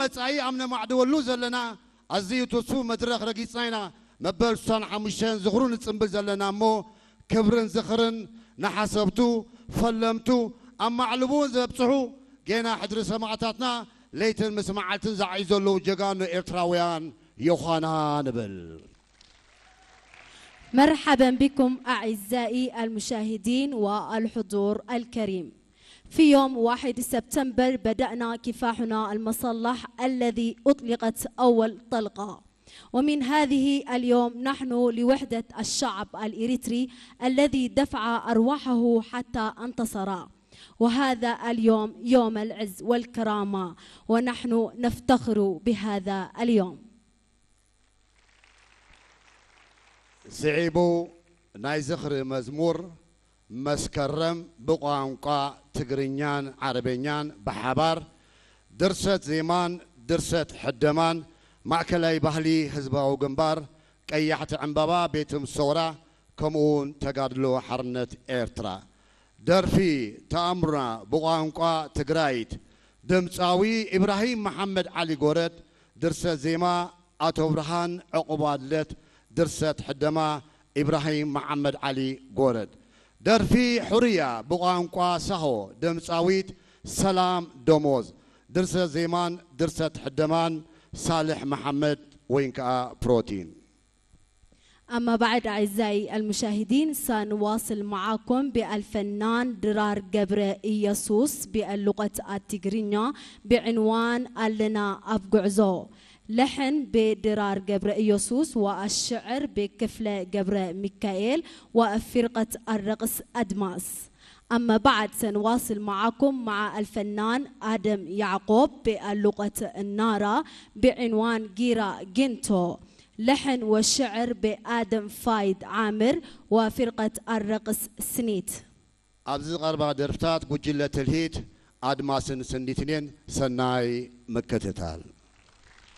መጻኢ ኣብ ነማዕድወሉ ዘለና ኣዝዩ ትስፉ መድረኽ ረጊጽና ኢና። መበል ስሳን ሓሙሽተን ዝኽሩ ንጽንብል ዘለና እሞ፣ ክብርን ዝኽርን ንሓሰብቱ፣ ፈለምቱ፣ ኣብ ማዕልቡ እውን ዘብጽሑ፣ ጌና ሕድሪ ሰማእታትና ለይትን ምስ መዓልትን ዝዓዩ ዘለዉ ጀጋኑ ኤርትራውያን ዮዃና ንብል። مرحبا بكم أعزائي المشاهدين والحضور الكريم. في يوم واحد سبتمبر بدأنا كفاحنا المسلح الذي أطلقت أول طلقة. ومن هذه اليوم نحن لوحدة الشعب الإريتري الذي دفع أرواحه حتى انتصر. وهذا اليوم يوم العز والكرامة، ونحن نفتخر بهذا اليوم. ስዒቡ ናይ ዝኽሪ መዝሙር መስከረም ብቋንቋ ትግርኛን ዓረበኛን ብሓባር ድርሰት ዜማን ድርሰት ሕደማን ማእከላይ ባህሊ ህዝባዊ ግንባር ቀያሕቲ ዕምባባ ቤት ምሶራ ከምኡውን ተጋድሎ ሓርነት ኤርትራ። ደርፊ ተኣምሩና ብቋንቋ ትግራይት ድምፃዊ ኢብራሂም መሓመድ ዓሊ ጎረድ ድርሰት ዜማ ኣቶ ብርሃን ዕቑባድለት ድርሰት ሕደማ ኢብራሂም መሓመድ ዓሊ ጎረድ። ደርፊ ሕሩያ ብቋንቋ ሳሆ ድምፃዊት ሰላም ደሞዝ ድርሰት ዜማን ድርሰት ሕደማን ሳልሕ መሓመድ ወይን ከዓ ፕሮቲን። أما بعد أعزائي المشاهدين سنواصل معكم بالفنان ድራር ገብረ ኢየሱስ باللغة التجرينية بعنوان ኣለና ኣብ ጉዕዞ. لحن بدرار ገብረ ኢየሱስ والشعر بكفلة ገብረ ሚካኤል وفرقة الرقص أدماس. أما بعد سنواصل معكم مع الفنان آدم يعقوب باللغة النارا بعنوان ጊራ ጊንቶ. لحن وشعر بآدم فايد عامر وفرقة الرقص سنيت. ኣብዚ ዝቐርባ ደርፍታት ጉጅለ ትልሂት ኣድማስን ስኒትን እየን። ሰናይ ምክትታል።